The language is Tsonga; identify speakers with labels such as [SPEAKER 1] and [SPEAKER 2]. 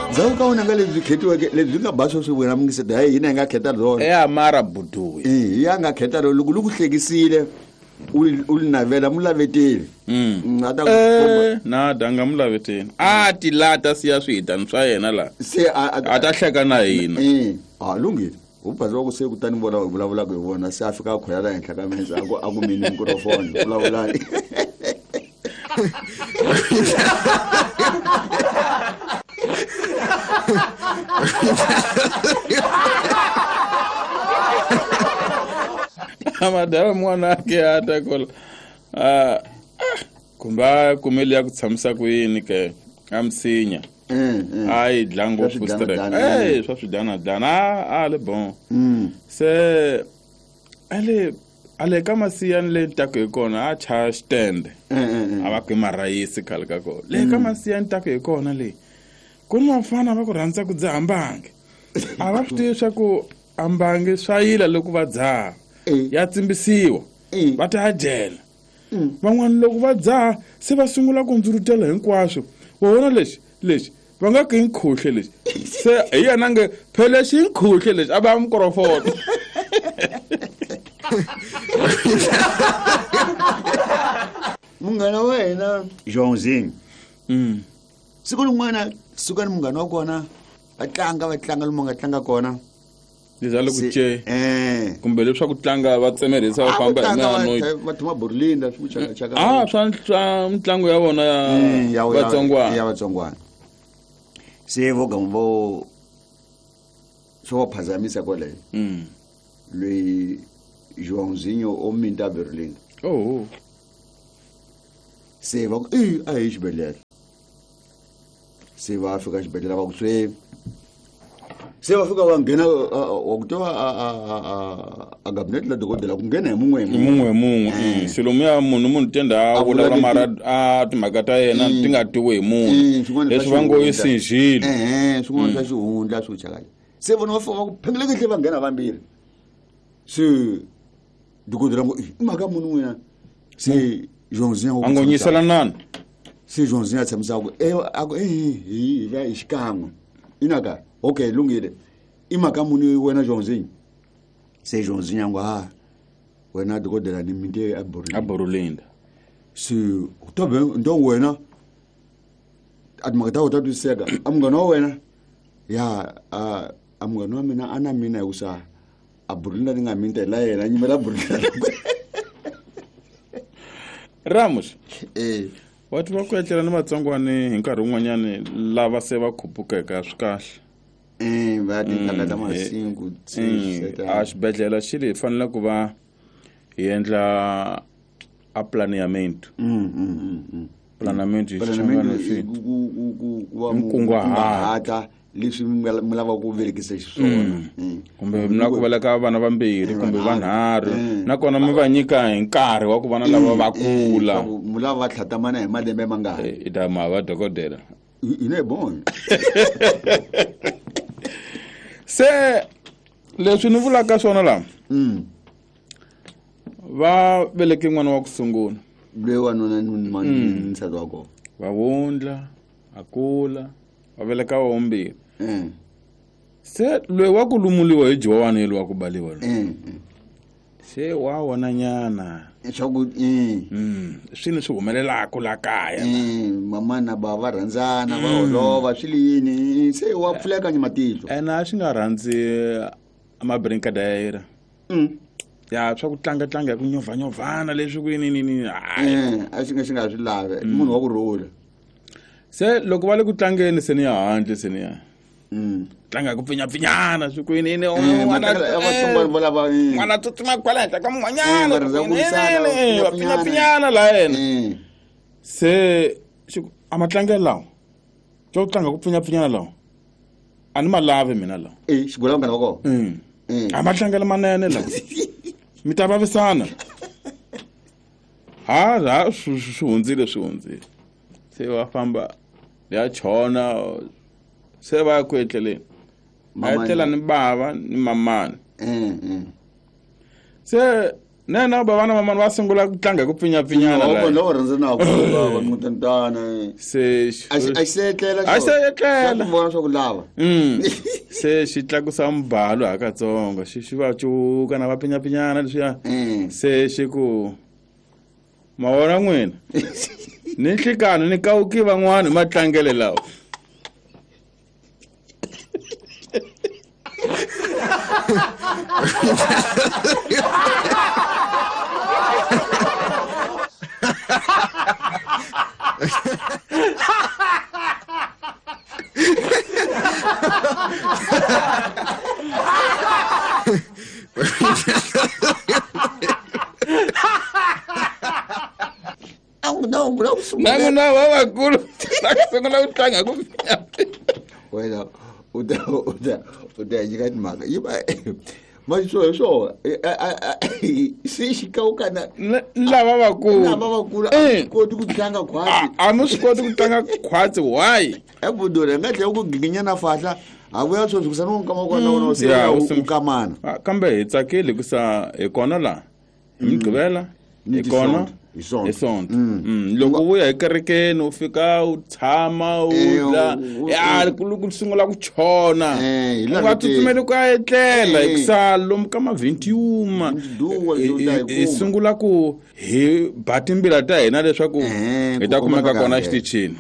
[SPEAKER 1] Ndzhaku ka wena nga lebyi khetiweke lebyi nga ba sweswi wena mingiseti hayi hina hi nga kheta byona.
[SPEAKER 2] E amara buduwi.
[SPEAKER 1] Eh, ya nga kheta rona loko li ku hlekisile u li navela mu laveteli. A ta ku komba.
[SPEAKER 2] Eh, na danga mu laveteni a ti lata siya swihitani swa yena la
[SPEAKER 1] Se a
[SPEAKER 2] a ta hleka na hina.
[SPEAKER 1] Eh, a lunghile. U bazi wa ku se kutani vona vulavulaka hi vona se a fika a khwela la henhla ka mese a ku a ku mini mikrofoni vulavulani.
[SPEAKER 2] Madala n'wana ake a ta kola ah, kumbe a kumeli ya ku tshamisa ku yini ke a misinya a yi dla ngopfu
[SPEAKER 1] Swa
[SPEAKER 2] stress
[SPEAKER 1] swidyana-dyana.
[SPEAKER 2] eh swa swidyana-dyana a a le bon se ale ale ka masiyani le ntaku hi kona a chaya xitende a va ku i marhayisi khale ka kona le ka masiyani ntaku hi kona le ku ni vafana va ku rhandza ku dzaha mbangi a va swi tivi swa ku a mbangi swa yila loko va dzaha ya tsimbisiwa va ta ya jela van'wana loko va dzaha se va sungula ku ndzurutela hinkwaswo wa vona lexi lexi va nga ku i nkhuhle lexi se hi yena nge phela lexi i nkhuhle lexi a va mikrofoni.
[SPEAKER 1] Munghana wa hina Johnzing. Siku rin'wana suka ni munghana wa kona va tlanga va tlanga lomu va nga tlanga kona.
[SPEAKER 2] Leswi a le ku
[SPEAKER 1] Se-
[SPEAKER 2] ce kumbe leswaku tlanga va tsemerhisa va
[SPEAKER 1] A ku
[SPEAKER 2] famba hi
[SPEAKER 1] tlanga va
[SPEAKER 2] miano
[SPEAKER 1] va thuma Burlinda swi ku chaka chaka.
[SPEAKER 2] a swa mitlangu ya vona ya vatsongwana.
[SPEAKER 1] Ya vatsongwana. Se vo gama vo swo va phazamisa kwale. Loyi Joãozinho o minta Berlin.
[SPEAKER 2] Oh.
[SPEAKER 1] Se va ku i a hi xibedhlele. Se va fika xibedhlele va ku se se va fika va nghena wa ku tiva a gabinete la dokodela ku nghena hi mun'we hi
[SPEAKER 2] mun'we hi mun'we. Silomu ya munhu munhu tenda a
[SPEAKER 1] A vula
[SPEAKER 2] vulavula
[SPEAKER 1] leti-
[SPEAKER 2] mara a timhaka ta yena ti nga tiwi hi munhu.
[SPEAKER 1] Swin'wana swa
[SPEAKER 2] Leswi va ngo i
[SPEAKER 1] xihundla.
[SPEAKER 2] sinjhile.
[SPEAKER 1] Ehe, swin'wana swa xihundla swo chakala. Se vona va fika va ku phengeleke va nghena vambirhi. Se dokodela ngo i mhaka muni n'wina. Se Joãozinho
[SPEAKER 2] A ngo nyisela nani.
[SPEAKER 1] Se Joãozinho a tshamisa ku e a ku hi hi va hi xikan'we. Inaka okay lunghile. I mhaka muni wena Joãozinho. Se Joãozinho a ngo ha wena dokodela ni minte a Burulinda.
[SPEAKER 2] A Burulinda.
[SPEAKER 1] Se u ta be ndo wena a timhaka ta wena ta twisiseka a munghana wa wena ya a a munghana wa mina a na mina hikusa a Burulinda ni nga minta hi la yena a nyimela Burulinda.
[SPEAKER 2] Ramos. Wa tiva ku etlela ni vatsongwani hi nkarhi wun'wanyani lava se va khupukeke swi kahle.
[SPEAKER 1] Va timhaka ta masiku,
[SPEAKER 2] A xibedhlele xi li hi fanele ku va hi endla a planeamento. Planeamento hi
[SPEAKER 1] Planeamento
[SPEAKER 2] Xichangani
[SPEAKER 1] i
[SPEAKER 2] swi
[SPEAKER 1] ku va
[SPEAKER 2] Nkunguhato.
[SPEAKER 1] kunguhata leswi mi lavaka ku velekisa xiswona.
[SPEAKER 2] Kumbe mi lava ku veleka vana vambirhi kumbe vanharhu nakona mi va nyika hi nkarhi wa ku vana lava va kula.
[SPEAKER 1] Leswaku mi lava va tlhatamana hi malembe mangani.
[SPEAKER 2] I ta ma va dokodela.
[SPEAKER 1] Hi ne bon.
[SPEAKER 2] Se leswi ni vulaka swona la. Va veleke n'wana wa ku sungula.
[SPEAKER 1] Loyi wanuna ni nsati wa kona.
[SPEAKER 2] Va wundla, a kula, va veleka wa vumbirhi. Se loyi wa ku lumuliwa hi Jowani loyi wa ku baliwa loyi. Se wa wona nyana.
[SPEAKER 1] Swa ku,
[SPEAKER 2] Swi ni swi humelelaka la kaya.
[SPEAKER 1] Mama na bava va rhandzana, va holova, swi li yini, se wa pfuleka ni matihlo.
[SPEAKER 2] Ene a swi nga rhandzi mabrinkadayira. Ya swa ku tlanga tlanga hi ku nyovhanyovhana leswi ku yini yini yini. Hayi.
[SPEAKER 1] A swi nga swi nga swi lavi. Munhu wa ku rhula.
[SPEAKER 2] Se loko va le ku tlangeni se ni ya handle se ni ya. Tlanga ku pfinyapfinyana swi ku yini yini,
[SPEAKER 1] Matlangelo ya vatsongwana vo lava,
[SPEAKER 2] n'wana tsutsuma kwala henhla ka mun'wanyana,
[SPEAKER 1] Va rhandza ku
[SPEAKER 2] yini,
[SPEAKER 1] lwisana,
[SPEAKER 2] yini,
[SPEAKER 1] va
[SPEAKER 2] va
[SPEAKER 1] pfinyapfinyana.
[SPEAKER 2] pfinyapfinyana la yena. Se xi ku, a matlangelo lawa xo ku tlanga ku pfinyapfinyana lawa a ni ma lavi mina lawa.
[SPEAKER 1] Xigula vanghana va kona.
[SPEAKER 2] A matlangelo manene lawa. Mi ta vavisana. Ha, ha, swi hundzile, swi hundzile. Se va famba ya chona se va ya ku etleleni. Va
[SPEAKER 1] Mamani.
[SPEAKER 2] etlela ni bava ni mamani. Se Nena bavana mamani va sungula ku tlanga hi ku pfinyapfinyana
[SPEAKER 1] Loko
[SPEAKER 2] laha.
[SPEAKER 1] loko rhandzanaka va mutantana.
[SPEAKER 2] Se
[SPEAKER 1] A xi a xi se etlela.
[SPEAKER 2] A xi se etlela.
[SPEAKER 1] Ku vona swa ku lava.
[SPEAKER 2] Se xi tlakusa mbalo hakatsongo xi va cuka na va pfinyapinyana leswiya. Se xi ku ma vona n'wina ni nhlikani ni kawuki van'wana hi matlangele lawa.
[SPEAKER 1] Na
[SPEAKER 2] n'wina vavakulu va sungula ku tlanga ku pfinyapinya.
[SPEAKER 1] Wena u ta nyika timhaka yi va manje swo hi swona se xi kawukana
[SPEAKER 2] lava vakulu
[SPEAKER 1] lava vakulu a koti ku tlanga khwatsi.
[SPEAKER 2] A mi swi koti ku tlanga khwatsi why?
[SPEAKER 1] Ebudula hi nga tlhela ku giginyana fahla ha vuya sweswi ku sani nkama kona wona se u kamana.
[SPEAKER 2] Kambe hi tsakile ku sa hi kona laha hi Mugqivela hi kona
[SPEAKER 1] hi
[SPEAKER 2] Sonto. Loko u vuya hi kerekeni u fika u tshama u dla ya ku sungula ku chona u nga tsutsumeli ku ya etlela hikusa lomu ka mavhintiuma hi sungula ku hi ba timbila ta hina leswaku hi ta kumeka kona exitichini.